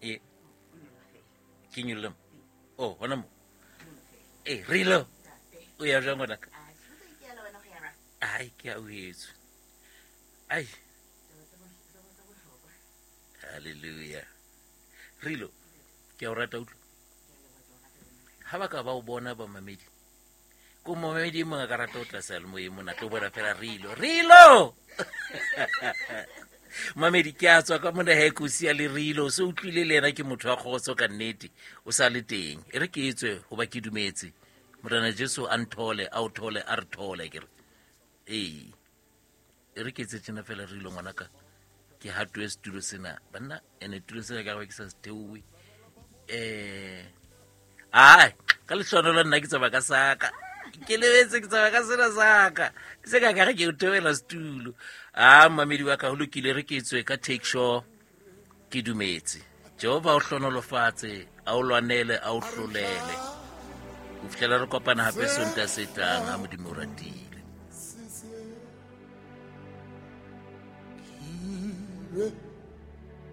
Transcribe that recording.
E ke nyolle mo. Oh, hona mo. E rilo. O ya jwang ngwanaka? Ai, ke a o etswe. Ai. Hallelujah. Rilo, ke a o rata utlwa. Ha ba ka ba o bona ba mamedi. Ko momamedi e mongwe a ka rata o tla seyalemoyeng mona tlo bona fela rilo. Rilo! Mamedi ke a tswa ka mona he ko sia le rilo o se utlwile le ena ke motho wa kgotso ka nnete o sa le teng e re ke etswe goba ke dumetse morena jesu a nthole a o thole a re thole ke re ee e re ke etse tjena fela rilo ngwanaka ke hatoe setulo sena banna ene tulo sena ka ke sa se theowe um ai ka lehlonolo nna ke tsamaya ka saka ke lebetse ke tsamaya ka sena saka se ka kare ke o theoela setulo a mamedi wa ka go lokile re ke tswe ka take sure ke dumetse jehova o hlonolofatse a o lwanele a o hlolele go fitlhela re kopana gape sonta se tlang ga modimo o ratile.